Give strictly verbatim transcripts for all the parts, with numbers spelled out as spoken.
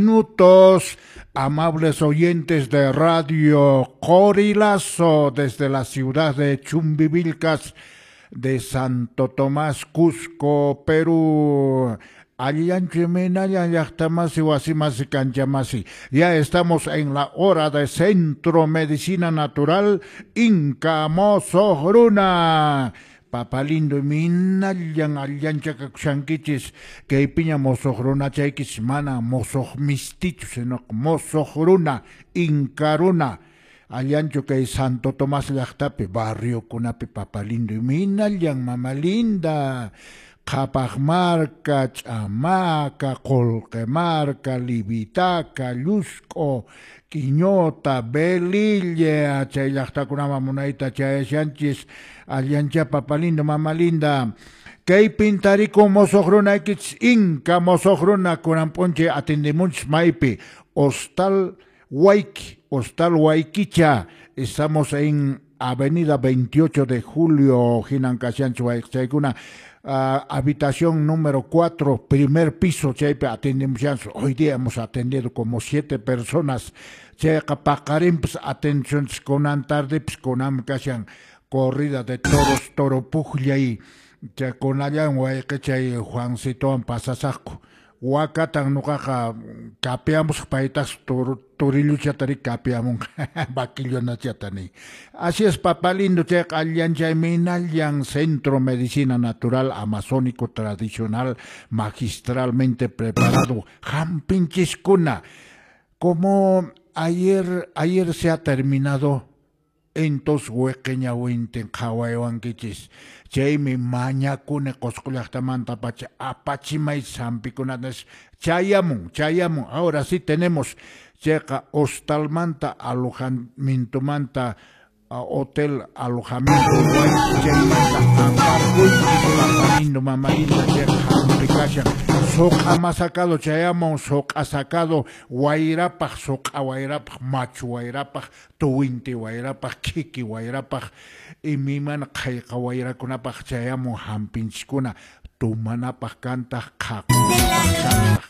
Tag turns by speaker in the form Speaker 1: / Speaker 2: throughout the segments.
Speaker 1: Minutos, amables oyentes de Radio Qorilazo desde la ciudad de Chumbivilcas de Santo Tomás, Cusco, Perú. Allanchu imaynalla llaqtamasi wasimasi kanchamasi. Ya estamos en la hora de Centro Medicina Natural Inca Mosoq Runa. Papalindo imaynallan allanchakakushankichis kaypiña mosoq runachaykichis mana mosoq mistichu sino mosoq runa Inca runa. Allanchu kay Santo Tomás llaqtapi barriokunapi papalindo imaynallan mama linda. Qhapaq marka, Ch'amaka, Qullqi marka, Livitaca, Llusk'o, Quiñota, Velilla, chay llaqtakunaman munayta chayashanchis, allancha papalindo, mama linda. Kaypin tarikun mosoq runaykichis Inca mosoq runa kunan p'unchay atendemunchis maypi Hostal Huayqui, Hostal Huayquicha, estamos en Avenida veintiocho de Julio, hinan kashanchis wayqichaykuna. Uh, habitación número cuatro, primer piso, chaypi atendemos. Hoy día hemos atendido como siete personas. Chayqa paqarinpas atenciones kunan tardepis kunan kashan corrida de toros, toro pukllay. Chay kunallan wayqichay Juancitowan pasasaqku. Wakatan nuqaqa kapiamusaq paytas torilluchata ri kapiamunqa vaquillonachata ni. Así es, papá lindo, chayqa alllanchay minallan Centro Medicina Natural Amazónico Tradicional magistralmente preparado. Hampinchiskuna. Como ayer, ayer se ha terminado, entonces weqeñawintin qhawaywankichis. Chaymi mañakuni Qosqo llaqtamanta pacha apachimay hampikunata chayamun, chayamun. Ahora sí tenemos chayqa hostalmanta alojamientomanta hotel alojamiento chaymanta aparquychis papalindo mamalinda chayqa hampi kashan. Suq'a masakado chayamun, suq'a sacado wayrapaq, suq'a wayrapaq, machu wayrapaq, tuwinti wayrapaq, kiki wayrapaq, imaymana qhayqa wayrakunapaq chayamun hampinchiskuna tumanapaq kantaq qhaqunapaq kantaq.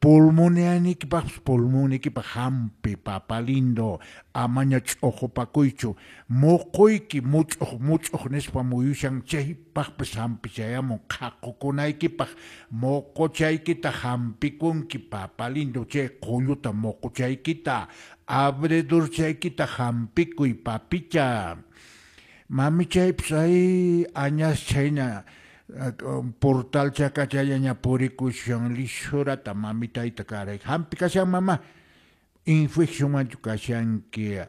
Speaker 1: Pulmonianikipaqpas pulmonikipaq hampi papalindo amaña ch'uqupakuychu muquyki much'uq much'uq nispa muyushan chaypaqpis hampi chayamun qhaqukunaykipaq muquchaykita hampikunki papalindo chay qulluta muquchaykita abredurchaykita hampikuy papicha mamichaypis ay añas chayna portal chakachallaña purikushan lishurata mamitayta karay hampi kashan mama infeccionmanchu kashanki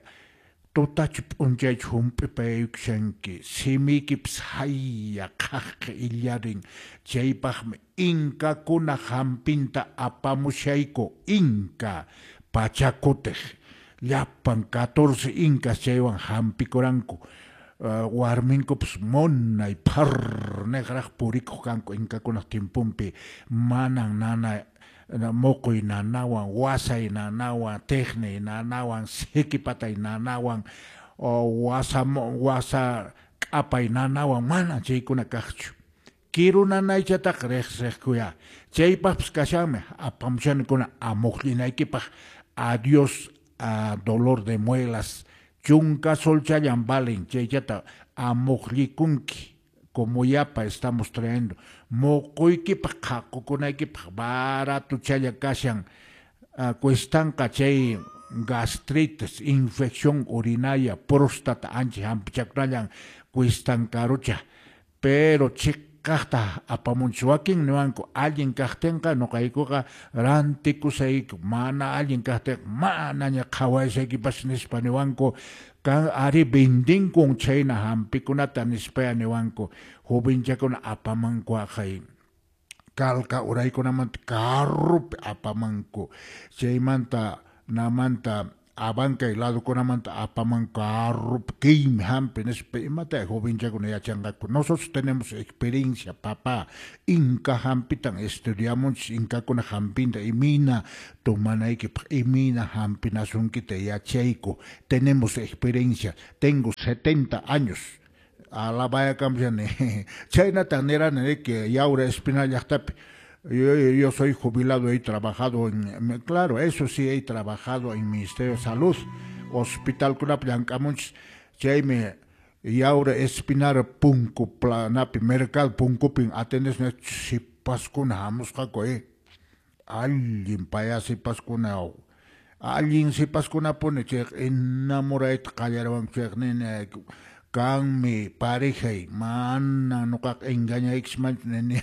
Speaker 1: tutachu p'unchaychu hump'ipaykushanki simiykipis haya qhaqqa illarin chaypaqmi inkakuna hampinta apamushayku inka pachakutiq llapan catorce incas chaywan hampikuranku. Uh, warminkupas munay phar niqraq purikuq kanku inkakunaq tiemponpi manan nana muquy nanawan wasay nanawan tiqniy nanawan sikipatay nanawan wasa wasa k'apay nanawan manan chaykuna kaqchu kiru nanaychataqa riqsiqkuya chaypaqpas kashanmi apamushanikuna amuqllinaykipaq adiós a dolor de muelas chunka solchallan valen chaychata amuqllikunki como yapa estamos trayendo muquykipaq qhaqukunaykipaq baratuchalla kashan uh, cuestanqa chay gastritis, infección urinaria, próstata ancha hampichakunallan cuestan karucha pero chiqaqta apamunchis wakin niwanku allin kaqtinqa nuqaykuqa rantikusayku mana allin kaqtinqa manaña qhawayshaykipas nispa niwanku kan ari vendinkun chayna hampikunata nispaya niwanku jovenchakuna apamanku aqhay kalka uraykunamanta carrupi apamanku chaymanta namanta Abancay ladokunamanta apamanku carrupi kaymi hampi nispa imata jovenchakuna yachanqaku. Nosotros tenemos experiencia, papá. Inca hampitan estudiamunchis inkakuna hampinta imayna tomanaykipaq imayna hampinasunkita yachayku. Tenemos experiencia. Tengo setenta años. Alabayakamushani. Chaynatan nirani que Yaura Espinal llaqtapi Yo, yo soy jubilado, he trabajado en, claro, eso sí, he trabajado en Ministerio de Salud, Hospital kunapi llank'amunchis, chaymi Yaura Espinar punku planapi, mercado punkupin atendesqa sipaskuna hamusqaku, eh. Allin paya sipaskuna, allin sipaskunapuni chayqa enamorayta qallariwanku chayqa nini kanmi parejay, mana nuqaqa engañaykismanchu nini.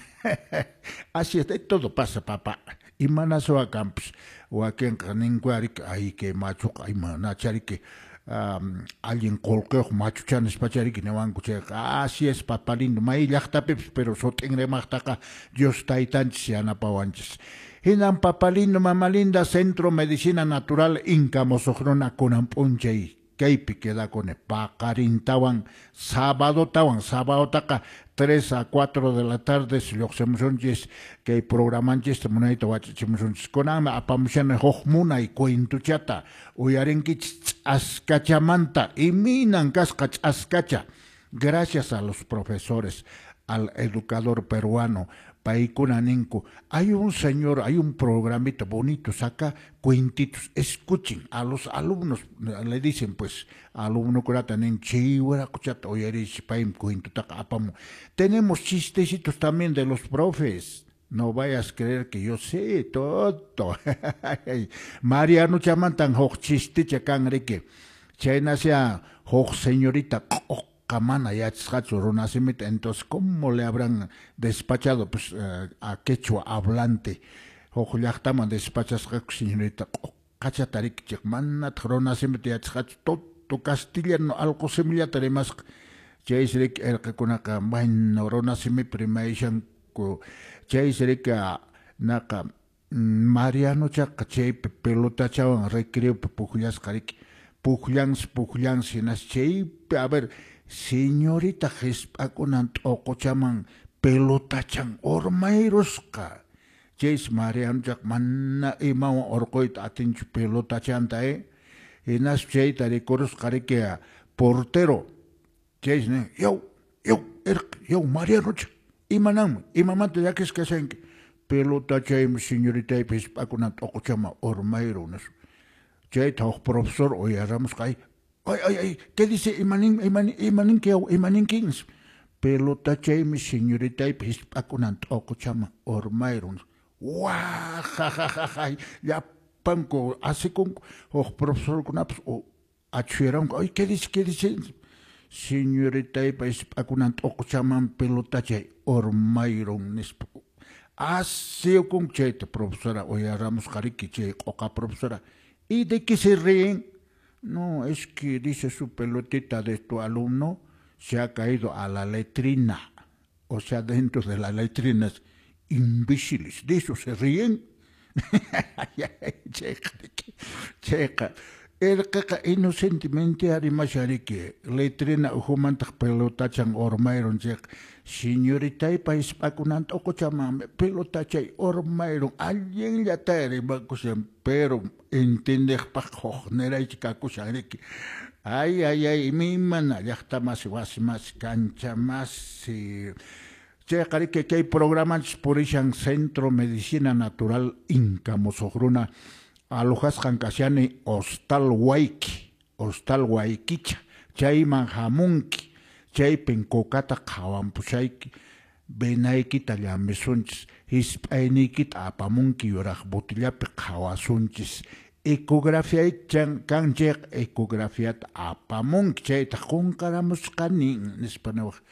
Speaker 1: Así es, todo pasa, papá. Imanaswa kanpas wakinqa ninku ariki ay kay machuqa imanachariki um, allin qullqiyuq machucha nispachariki niwanku chayqa. Así es, papá lindo, may llaqtapipis, pero sut'in rimaqtaqa Dios taytanchis yanapawanchis. Hinan, papá lindo, mamá linda, Centro Medicina Natural Inca Mosuq Runa kunan p'unchay kaypi quedakuni paqarintawan sabadotawan, sabadotaqa tres a cuatro de la tarde lluqsimusunchis kay programanchista munayta wachachimusunchis. Kunanmi apamushani huk munay cuentuchata uyarinkichis ch'askachamanta, imaynan kasqa ch'askacha. Gracias a los profesores, al educador peruano, paykuna ninku, hay un señor, hay un programita bonito, saca cuentitos, escuchen a los alumnos, le dicen pues, alumnokunata nin chiwarakuchata uyarichis paymi cuentutaqa apamun. Tenemos chistecitos también de los profes. No vayas a creer que yo sé todo. Marianuchamantan huk chisticha kan riki. Chaynasya huk señorita mana yachasqachu runasimita, entonces ¿cómo le habrán despachado pues uh, a quechua hablante? Huk llaqtaman despachasqaku señorita q'uqachata riki chay manataq runasimita yachasqachu, todo castellano allqu simillata rimasqa. Chaysi riki irqikunaqa bueno runasimipi rimayshanku. Chaysi riki naqa Marianochaqa chaypi pelotachawan recreopi pukllasqa riki, pukllansi pukllansi hinas chaypi a ver señorita hisp'akunan t'uquchaman pelotachan urmayrusqa. Chaysi Marianochaqa mana imawan urquyta atinchu pelotachanta, eh. Hinaspa chayta rikurusqa riki portero. Chaysi nin, yaw, yaw, irqi, yaw Marianocha, imananmi, imamanta llakisqa kashanki? Pelotachaymi señoritaypa hisp'akunan t'uquchaman urmayrun nispa. Chayta huk profesor uyaramusqa, ay, ay, ay, ay, ¿qué dice? Imanin, imanin, imaninki, yaw, imaninki? Pelotachaymi señoritaypa hisp'akunan t'uquchaman urmayrun. Wa, ja, ja, ja, ja, llapanku asikunku, huk profesorkunapas achhuyaranku, ay, ¿qué dice? ¿Qué dice? Señoritaypa hisp'akunan t'uquchaman pelotachay urmayrun nispa. Asiyukunku chayta profesora uyaramusqa riki chay q'uqa profesora. ¿Y de qué se ríen? No, es que dice su pelotita de tu alumno se ha caído a la letrina. O sea, dentro de las letrinas. Imbéciles, de eso se ríen. Chayqa, irqiqa inocentemente rimashan riki, letrina ukhumantaq pelotachan urmayrun chayqa, señoritaypa hisp'akunan t'uquchaman pelotachay urmayrun, allinllata rimakushan, pero entendeqpaq huk niraycha kakushan riki. Ay, ay, ay, imaymana llaqtamasi, wasimasi, kanchamasi. Chayqa riki kay programanchis purishan Centro Medicina Natural Inca Mosuq Runa, alojasqan kashani Hostal Huayqui, Hostal Huayquicha, chayman hamunki, chaypin kukata qhawanpushayki, venaykita llamisunchis, hisp'ayniykita apamunki yuraq botillapi qhawasunchis, ecografía kan chayqa ecografiata apamunki, chayta qunqaramusqani nispa niwaq.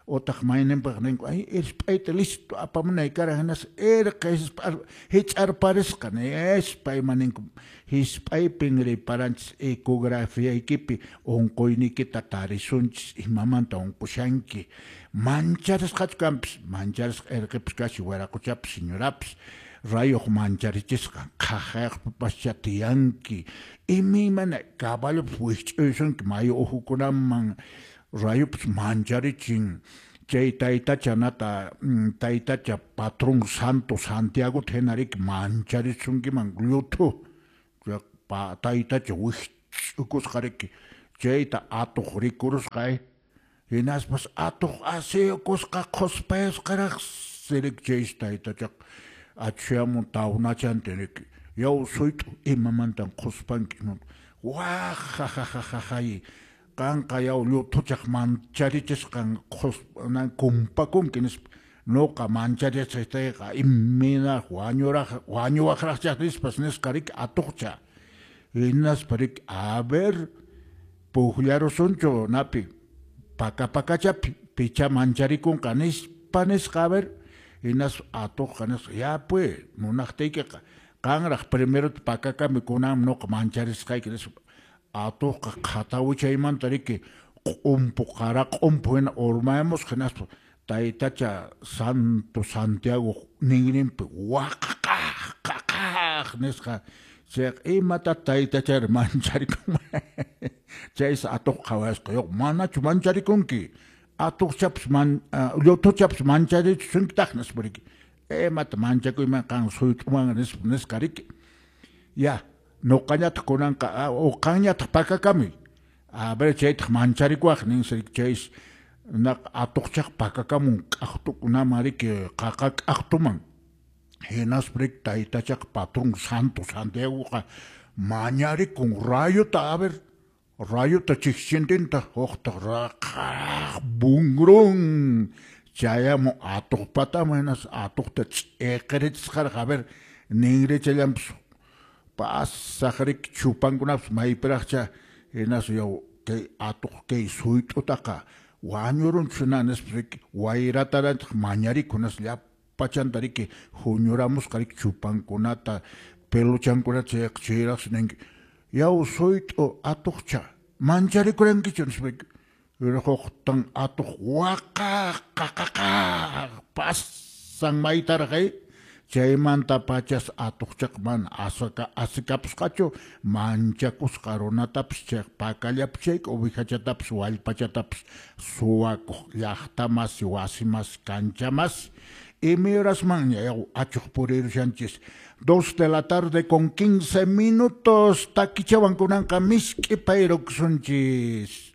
Speaker 1: Otaq mayninpaq ninku, ay hisp'ayta listo apamunay karan hinas irqi hich'arparisqa nispa ima ninku. Hisp'aypin riparanchis ecografiaykipi unquyniykita tarisunchis, imamanta unqushanki. Mancharisqachu kanpis, mancharisqa irqipis kashi wiraquchapis señorapis, rayuq mancharichisqa qhaqhayaqpipascha tiyanki, imaymana caballopas wikch'uysunki mayu uhukunaman, rayupas mancharichin. Chay taytacha nata taytacha patrón santo Santiago hina riki mancharisunkiman lluthu taytacha wikch'ukusqa riki, chayta atuq rikurusqa, eh. Hinaspas atuq asiyukusqa qhuspayusqaraqsi riki chaysi taytachaqa. Achuyamun tawnachantin riki. Yaw suyt'u imamantan qhuspanki waq qanqa yaw lluthuchaq mancharichisqan qhuspanan kumpakunki nispa nuqa mancharichisqayqa imaynaraq wañuraq wañuwaqraqchaq nispas nisqa riki atuqcha hinaspa riki a ver pukllarusunchu napi paka pakachapi picha mancharikunqa nispa nisqa a ver hinaspa atuqqa nisqa ya pues munaqtiykiqa qanraq primero pakakami kunan nuqa mancharisqayki nispa atuqqa qhatawichaymanta riki q'umpu qara q'umpu hina urmayamusqa hinaspa taytacha Santo Santiago ninrinpi waqaqaq qaqaq nisqa chayqa imata taytachari mancharikunman chaysi atuq qhawasqa yoq manachu mancharikunki atuqchapas man lluthuchapas mancharichusunkitaq nispa riki imata manchakuyman qan suyt'uman nispa nisqa riki ya nuqañataq kunanqa uqanñataq pakakami a ver chaytaq mancharikuwaq ninsi riki chaysi naq atuqchaq pakakamun k'aqtukunaman riki qaqa k'aqtuman hinaspa riki taytachaq patrón Santo Santiagoqa mañarikun rayuta a ver rayuta chikchintinta huqtaq raqaq bungrun chayamun atuqpataman hinaspa atuqta ch'iqirichisqaraq a ver ninrichallanpas pasaq riki chupankunapas maypiraqcha hinaspa yaw kay atuq kay suyt'utaqa wañurunchu hina nispa riki wayratarantaq mañarikun hinaspa llapachanta riki huñuramusqa riki chupankunata peluchankunata chayqa chayraqsi ninki yaw suyt'u atuqcha mancharikurankichu nispa riki huqtan atuq waqaq qaqaqaq pasan maytaraq chaymanta pachas atuqchaqa mana asaka asikapusqachu manchakusqa runatapas chay pakallapi chayka ovejachatapas wallpachatapas suwakuq llaqtamasi wasimasi kanchamasi imay horasmanña yaw achuq purirushanchis. Dos de la tarde con quince minutos takichawan kunanqa misk'i payrukusunchis.